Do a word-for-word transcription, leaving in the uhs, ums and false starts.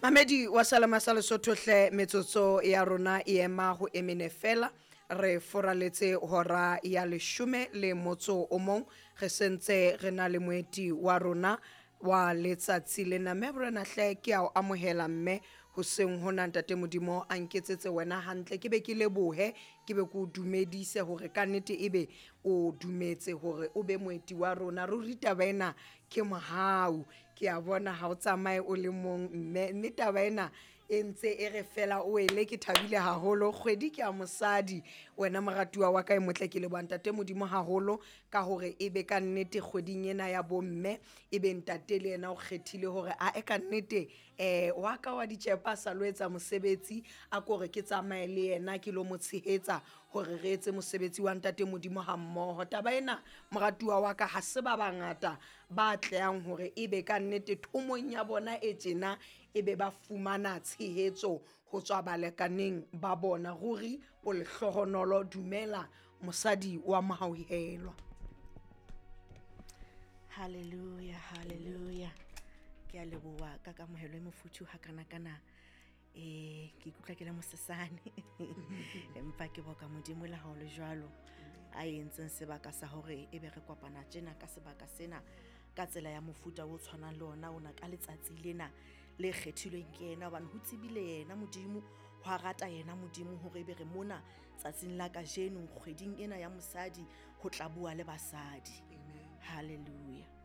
Mamedi wa Salama sa Lesotho hle, metsotso ya rona e ema ho emene fela, re foraletse hora ya leshome le motso o mong, re sentse re na le moeti wa rona wa letsatsi lena. Mme Morena hle, ke a o amohela mme hoseng hona. Ntate Modimo a nketsetse wena hantle, ke be ke lebohe, ke be ke o dumedise hore ka nnete ebe o dumetse hore o be moeti wa rona. Ruri taba ena ke mohau, ke a bona ha o tsamaye o le mong mme, mme taba ena e ntse e re fela o ele. Ke thabile haholo, kgwedi ke ya mosadi. Wena moratuwa wa ka e motle, ke leboha ntate Modimo haholo ka hore ebe ka nnete kgweding ena ya bomme ebe ntate le yena o kgethile hore a e ka nnete um wa ka wa ditjepa sa lo etsa mosebetsi, a ko re ke tsamaye le yena ke lo mo tshehetsa hore re etse mosebetsi wa ntate Modimo ha mmoho. Taba ena moratuwa wa ka, ha se ba bangata ba atlehang hore ebe ka nnete thomong ya bona e tjena ebe ba fumana tshehetso ho tswa balekaneng ba bona. Ruri o lehlohonolo. Dumela mosadi wa mohauhelwa. Hallelujah, hallelujah. Ke a leboha ka kamohelo e mofuthu hakanakana. Eh ke ikutlwa ke le mosesane, empa ke boka Modimo le ha o le jwalo a entseng sebaka sa hore ebe re kopana tjena ka sebaka sena, ka tsela ya mofuta o tshwanang le ona ona, ka letsatsi lena le kgethilweng ke yena, hobane ho tsebile yena Modimo, ho a rata yena Modimo hore ebe re mona tsatsing la kajeno kgweding ena ya mosadi ho tla bua le basadi. Hallelujah.